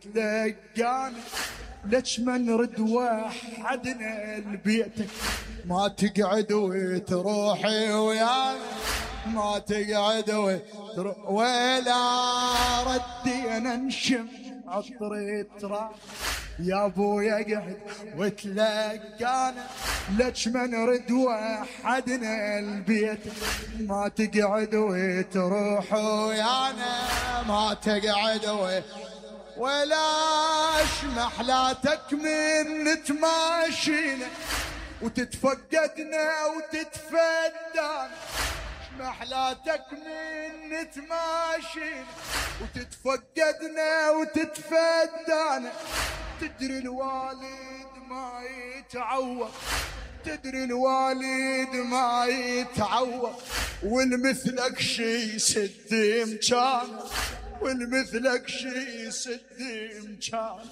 تلقانا ليش ما نرد وحدنا لبيتك، ما تقعد وتروحي ويانا، ما تقعد وتروح ولا ردينا نشم عطر التراب. يا ابويا قعد وتلقانا ليش ما نرد وحدنا لبيتك، ما تقعد وتروح ويانا، ما تقعد ولاش محلاتك من تماشينا وتتفقدنا وتتفدانا، محلاتك من تماشينا وتتفقدنا وتتفدانا. تدري الوالد ما يتعوض، تدري الوالد ما يتعوض، والمثلك شي يسد مكان، والمثلك شي يسد مكان.